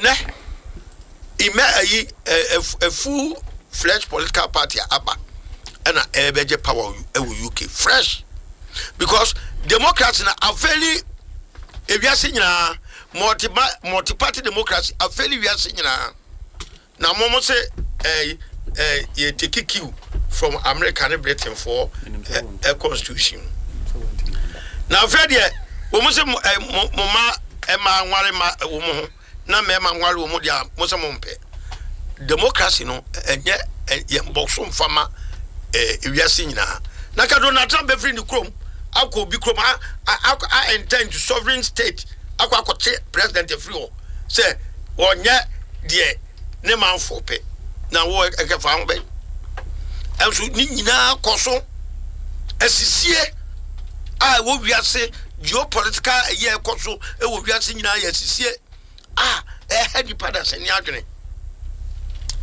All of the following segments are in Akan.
Ɛnɛ imɛ ayi ɛ full fledged political party aba ɛna ɛbɛgye power ɛwɔ UK fresh because democracy na afɛli ewiase nyinaa multi multi party democracy afɛli wiase nyinaa. Na mo mo se eh eh yɛ take cue from America ne Britain foɔ eh constitution mu. Na afei deɛ wɔn se mo eh mo mo ma mmaa nware ma wɔn ho na mmarima nware wɔn deɛ a mo se mo mpɛ. Democracy no ɛnyɛ yɛn bɔ so nfa ma eh wiase nyinaa. Na ka Donald Trump bɛfiri ne kurom akɔ obi kurom a a a enter into sovereign state akɔ akɔte president afiri hɔ. sɛ wɔnyɛ deɛ ne manfoɔ pɛ na wo ɛkɛfa ho bɛn ɛnso ne nyinaa kɔ so asisie a ɛwɔ wiase geopolitical ɛyɛ ɛkɔ so ɛwɔ wiase nyinaa yɛ asisie a ɛha nipa dasani adwene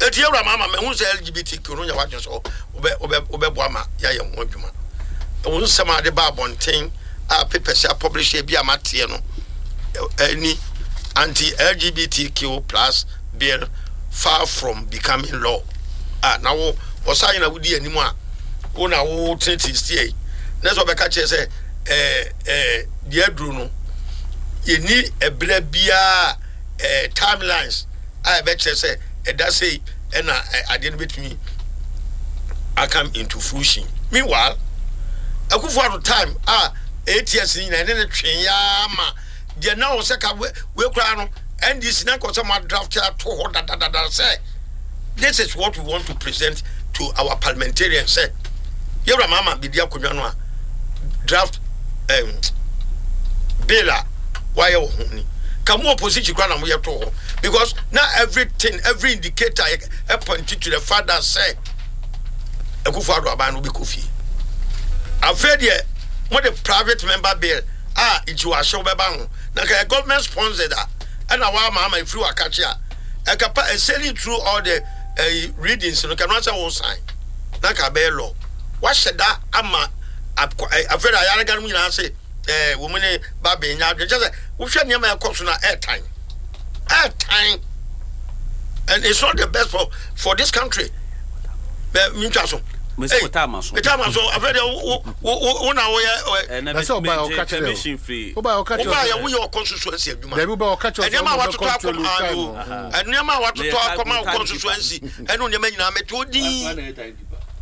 eti ewura maa ma mɛhu sɛ LGBTQ no nyɛ wadwene sɛ wobɛ wobɛ wobɛboa ma yɛayɛ ho adwuma ɛwɔ nsɛm a de ba abɔnten a papers a publish bi a mateɛ no ɛni anti LGBTQ plus bill far from becoming law a na wo ɔsan na wodi anim a wo na wo tenetene steer yi na sɛ ɔbɛka kyerɛ sɛ ɛɛ ɛɛ deɛ aduro no yɛni ɛberɛ biara ɛɛ timelines a ɛbɛkyerɛ sɛ ɛda sei ɛna adeɛ no bɛtumi akam into fruition. Meanwhile, Akufo Addo time a ATS no nyinaa ɛne ne twee yaa ma deɛ na wɔ sɛ ka wei koraa no NDC na nka sɛ mo adraft ato hɔ dadadada sɛ this is what we want to present to our parliamentarians sɛ yɛwura maama bɛdi akonnwa no a draft um, bill a wayɛ wɔ ho ni ka mo opposition koraa na moyɛ to hɔ because na everything every indicator point to the fact that sɛ Akufo Addo aban no bɛkɔ fie afei deɛ mode private member bill a nti wɔahyɛ wobɛba ho na nka yɛ government sponsored a ɛna wɔama ama ɛfiri wakakye a ɛka pa sailing through all the uh, readings no kɛno sɛ wo sign na ka bɛyɛ law wahyɛ da ama afei de ayarega no mu nyinaa se ɛɛ wɔn ne ba bɛn nya adwene kyɛ sɛ wohwɛ nneɛma ɛkɔ so na ɛɛtan ɛɛtan and it's not the best for for this country bɛ mi ntwa so. Mesi wo taama so. Taama so afei deɛ wo wo wo wo na woyɛ. Ɛna Na sɛ mi ɔbaa mi ɔka kyerɛ permission firi. o. Ɔbaa ɔka kyerɛ Wobaa o yɛ sɛ woyɛ ɔkɔnsusuansi adwuma. dabi ɔbaa ɔka kyerɛ o sɛ Nneɛma a ɔmo bɛ watoto control akɔm time ayo. o. Nneɛma a watoto Meyɛ akɔma time ɔkɔnsusuansi ɛne nneɛma nyinaa mɛte odin.